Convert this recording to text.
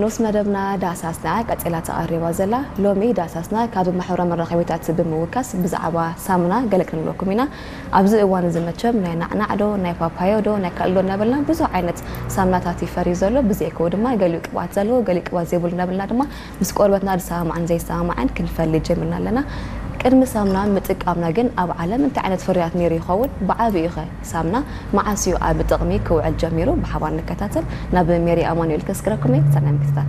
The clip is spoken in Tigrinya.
ንኡስ መደብና ዳሳስና ቀጺላ ተቐሪባ ዘላ። ሎሚ ዳሳስና ካብ ማሕበራዊ መራኸቢታት ብምውካስ ብዛዕባ ሳሙና ገለ ክንብለኩም ኢና። ኣብዚ እዋን እዚ መቸም ናይ ናዕናዕዶ፣ ናይ ፓፓዮዶ፣ ናይ ካልእዶ እናበልና ብዙሕ ዓይነት ሳሙናታት ይፈሪ ዘሎ። ብዘይከው ድማ ገሊኡ ቅብኣት ዘለዎ፣ ገሊኡ ቅብኣት ዘይብሉ እናበልና ድማ ምስ ቆርበትና ዝሰማማዕን ዘይሰማማዕን ክንፈሊ ጀሚርና ኣለና። ቅድሚ ሳሙና ምጥቃምና ግን ኣብ ዓለም እንታይ ዓይነት ፍርያት ነይሩ ይኸውን? ብዓቢኡ ኸ ሳምና መዓስ እዩ ኣብ ጥቕሚ ክውዕል ጀሚሩ? ብሓባር ንከታተል። ናብ ሜሪ ኣማኑኤል ከስግረኩም እየ። ሰናይ ምክትታል።